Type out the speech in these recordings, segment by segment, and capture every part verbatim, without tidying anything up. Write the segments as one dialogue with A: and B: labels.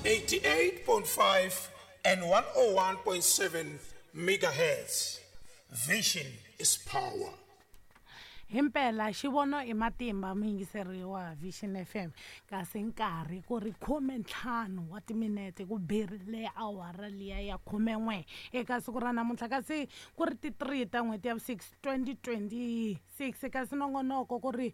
A: eighty-eight point five and one oh one point seven megahertz. Vision is power.
B: Himpela xivono i matimba muyingiseri wa Vision F M kasi nkarhi ku ri khume ntlhanu wa timinete ku birile awara liya ya khume n'we eka siku ra namuntlha kasi ku ri ti three ta n'hweti ya six twenty twenty six kasi nongonoko ku ri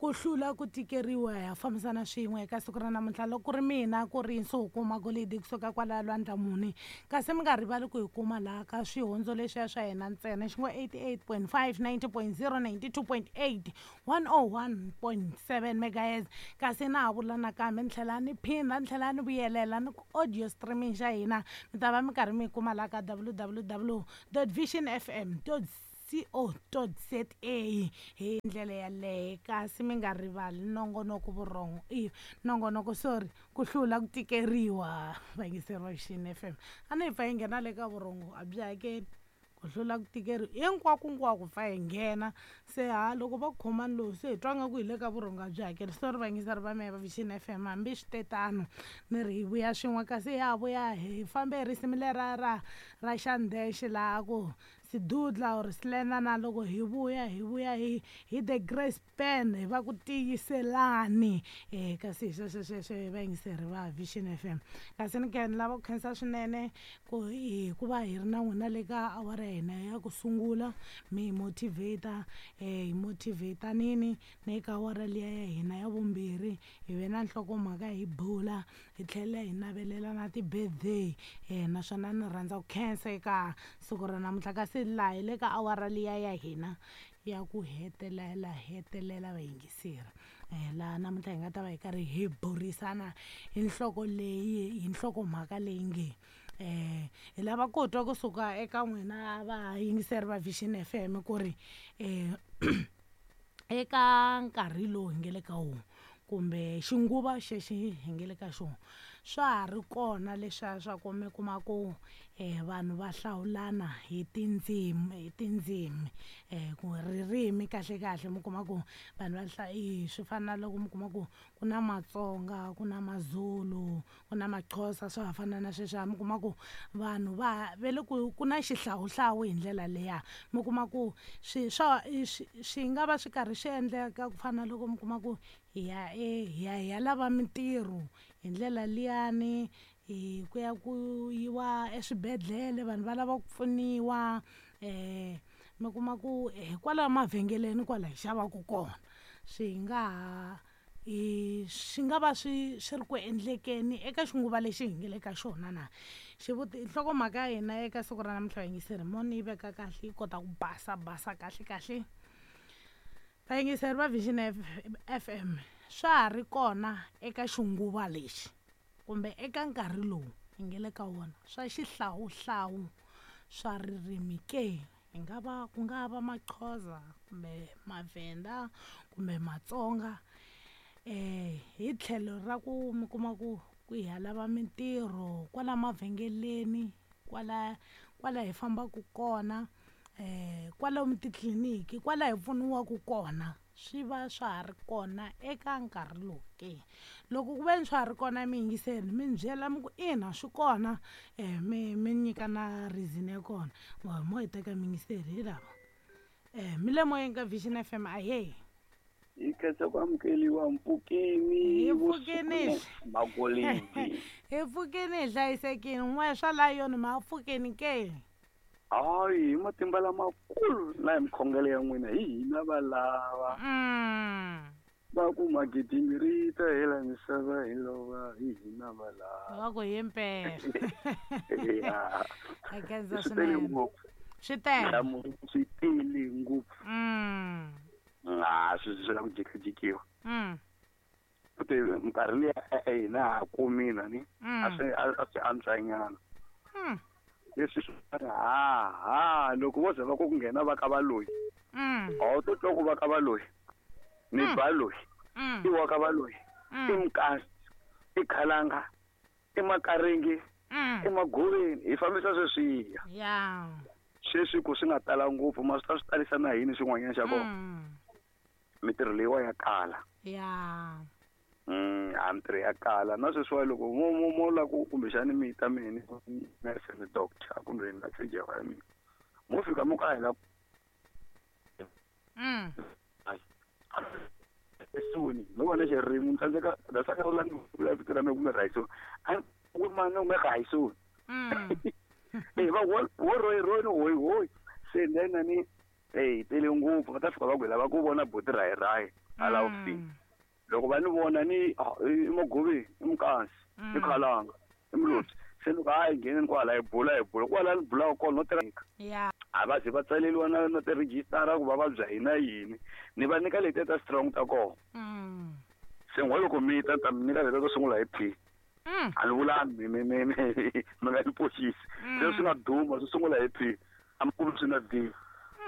B: ku hlula ku tikeriwa ya fambisana swin'we eka siku ra namuntlha loko ku ri mina ku ri Nsuku Magolidi kusuka kwala Lwandlamuni kasi mi nga rivali ku hi kuma laha ka swihondzo leswiya swa hina ntsena xi ngo eighty-eight point five, ninety point zero, ninety-two point eight, one oh one point seven megahertz kasi na ha vula nakambe ni tlhela ni phinda ni tlhela ni vuyelela ni ku audio streaming xa hina mi ta va mi karhi mi kuma laha ka w w w dot vision f m dot co dot z a hi ndlela yaleyo kasi mi nga rivali nongonoko vurhongo i nongonoko sorry ku hlula ku tikeriwa vayingiseri va Vision F M a ni hi pfa hi nghena le ka vurhongo a byi hakeli ku hlula ku tikeriwa hinkwako hinkwako pfa hi nghena se ha loko va ku khomani lowu se hi twa nga ku hi le ka vurhongo a byi hakeli sorry vayingiseri va mehe va Vision F M hambi swi te tano ni ri hi vuya swin'we kasi ha vuya hi fambe hi risimu lera ra ra xandexe laha ku Sidudla or Slena na loko hi vuya hi vuya hi hi the Grace Pen hi va ku tiyiselani eh kasi hi sweswo sweswo hi vayingiseri va Vision F M kasi ni khe ni lava ku khensa swinene ku hikuva hi ri na n'wina le ka awara ya hina ya ku sungula mi hi motivate eh hi motivate nini na eka awara liya ya hina ya vumbirhi hi ve na nhlokomhaka hi bula hi tlhela hi navelela na ti-birthday eh naswona ni rhandza ku khensa eka siku ra namuntlha kasi laha hi le ka awara liya ya hina ya ku hetelela hetelela vayingiseri eh laha namuntlha hi nga ta va hi karhi hi burisana hi nhloko leyi hi nhlokomhaka leyi nge eh hi lava ku twa kusuka eka n'wina vayingiseri va Vision F M ku ri eh eka nkarhi lowu hi nge le ka wona kumbe xinguva xexi hi nge le ka xona swa ha ri kona leswiya swa ku mi kuma ku eh vanhu va hlawulana hi tindzimi hi tindzimi eh ku ririmi kahle kahle mi kuma ku vanhu va hla i swi fana na loko mi kuma ku ku na Matsonga ku na Mazulu ku na Maxhosa swa ha fana na sweswiya mi kuma ku vanhu va ve le ku ku na xihlawuhlawu hi ndlela liya mi kuma ku swi swa swi swi nga va swi karhi swi endleka ku fana na loko mi kuma ku hi ya e hi ya hi ya lava mintirho hi ndlela liyani hi ku ya ku yiwa eswibedhlele vanhu va lava ku pfuniwa eh mi kuma ku hikwalaho mavhengeleni kwala hi xavaka kona swi nga ha i swi nga va swi swi ri ku endlekeni eka xinguva lexi hi nge le ka xona na xivuti nhlokomhaka ya hina eka siku ra namuntlha vayingiseri mo ni yi veka kahle yi kota ku basa basa kahle kahle vayingiseri va Vision F M swa ha ri kona eka xinguva lexi kumbe eka nkarhi lowu hi nge le ka wona swa xihlawuhlawu swa ririmi ke hi nga va ku nga va Maxhosa kumbe Mavhenda kumbe Matsonga eh hi tlhelo ra ku mi kuma ku ku hi ya lava mintirho kwala mavhengeleni kwala kwala hi fambaka kona eh kwalomu titliliniki kwala hi pfuniwaka kona swi va swa ha ri kona eka nkarhi lowu ke loko ku ve ni swa ha ri kona mi yingiseni mi ni byela mi ku ina swi kona eh mi mi nyika na reason ya kona mo hi teka mi yingiseri hi lava eh mi le moyeni ka Vision F M ahee
C: hi khensa ku amukeliwa mpfukeni
B: hi pfukeni
C: Magolidi
B: hi pfukeni hi hlayisekile n'we swa la yona ma pfukeni ke
C: hayi hi matimba lamakulu na hi mikhongelo ya n'wina hi hina valava va ku magidimi ri ta hela misava hi lova hi hina valava
B: va ku hi mpela
C: ya
B: khensa
C: swi tele
B: swinene
C: ngopfu
B: swi tele
C: nhlamulo swi tele ngopfu
B: mm
C: a swi swi la ku jikijikiwa
B: mm
C: futhi minkarhi liya e-e hina ha kumina ni
B: mm
C: a swi a swi antswanyana
B: mm
C: leswi swi ha ha loko vo ze va ku ku nghena va ka valoyi
B: mm
C: a wu to twa ku va ka valoyi ni
B: Mm.
C: ba loyi
B: mm
C: i wa ka valoyi i
B: mm
C: mukasi i khalanga i makaringi
B: mm
C: i magoveni hi fambisa sweswiya
B: ya
C: sweswi ku swi nga tala ngopfu ma swi ta swi talisa na yini swin'wanyana xa kona
B: mm
C: mintirho leyiwa ya kala
B: ya
C: Mm, a mintirho ya kala na sweswiwa loko mo mo mo la ku kumbexani mi ta mina nurse ni doctor kumbe ni la ya mina mo fika mo ka hi la
B: mm
C: esuni no vona xirimi ni tsandzeka da saka la ni vula vito ra mina kumbe Raisoni a ku mani u nga Raisoni
B: mm
C: eh va wo wo roy roy no hoy hoy se nena ni eh tele ngopfu va ta fika va ku lava ku vona buti rayi rayi ala ofisi loko va ni vona ni i Mugubi i Mukansi i Khalanga i Muloti se loko a yi ngheneni kwala hi bula hi bula kwala ni bulaka kona no tirha
B: ya
C: a va ze va tsaleliwa na na tirhejistara ku va vabya hina yini ni va nyika letiya ta strong ta kona se n'we loko mi ta ta mi nyika letiya to sungula hi P a ni vulani mi mi mi mi nga ni poxisi se swi nga duma swi sungula hi P a mi kumi swi na D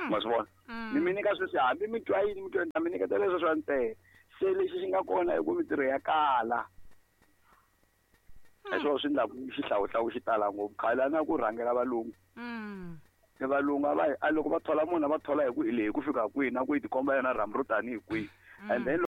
C: ma swi vona ni mi nyika sweswi hambi mi twa yini mi twa yini mi nyiketa leswo swa ntsena se lexi xi nga kona i ku mintirho ya kala hi swona swi endlaku xihlawuhlawu xi tala ngopfu khale a na ku rhangela valungu se valungu a va a loko va thola munhu a va thola hi ku hi leyi ku fika kwihi na ku yi tikomba yona rhambu ro tanihi kwihi and then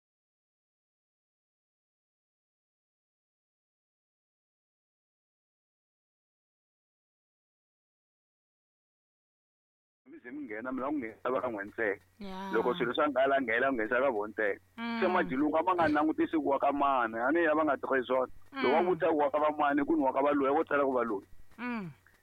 C: mi ze mi nghena mi lava ku nghena va ka n'we ntsena loko swilo swa nghala nghena nghenisa ka vona ntsena se majilungu a va nga langutisi ku wa ka mani a ni ya va nga tirhi swona loko va vutisa ku wa ka va mani ku ni wa ka valoyi vo tsala ku valoyi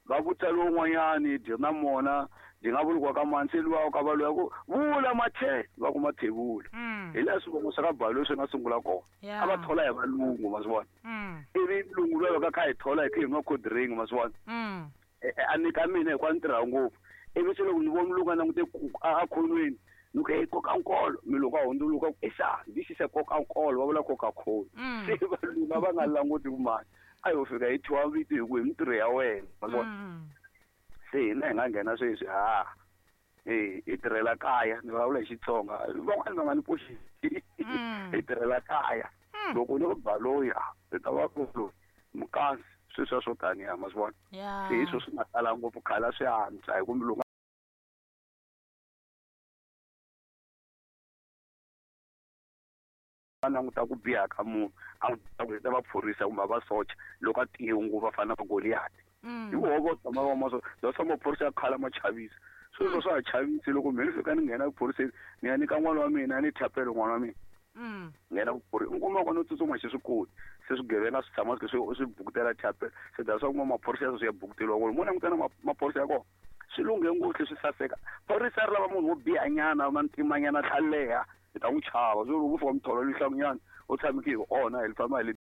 C: va vutisa lowun'wanyani dyi na mona dyi nga vuli ku wa ka mani se luwa wa ka valoyi ku vula mathe va ku mathevula hi laha swivongo swa ka Baloyi swi nga sungula kona a va thola hi valungu ma swi vona ivi lungu luya va kha hi thola hi kha hi nwa cold drink ma swi vona a nyika mina hikuva ni tirha ngopfu ivi se loko ni vona mulungu a langute a khonweni ni ku hey koka nkolo milungu a hundzuluka ku esa this is a koka nkolo va vula Coca-Cola se valungu a va nga languti ku mani a yo fika hi thyiwa vito hi ku hi mintirho ya wena ma vona se hina hi nga nghena sweswi ha e hi tirhela kaya ni vulavula hi Xitsonga van'wani va nga ni poxisi hi tirhela kaya loko ni ku Baloyi hi ta va ku Mukansi sweswiya swo taniya ma swi vona se hi swo swi nga tala ngopfu khale a swi antswa hi ku mulungu a languta ku biha ka munhu a ku ta va phorisa kumbe va socha loko a tiye ngopfu va fana na Goliath hi voho vo tshama va ma so swa maphorisa ya khale ma chavisa sweswo swa ha chavisi loko mina ni fika ni nghena ephoriseni ni ya nyika n'wana wa mina ni thapelo n'wana wa mina nghena ku u kuma ku no tsutsuma xi swi koti se swigevenga swi tshama swi swi bukutela thapelo se da swa kuma maphorisa ya swi ya bukuteriwa kona mo languta na maphorisa ya kona swi lunghe ngopfu swi saseka phorisa ri lava munhu wo biha nyana mantimanyana tlhaleha hi ta n'wi chava swi ri ku fika mitholo lihlangunyana u tshameke hi ona hi famba hi le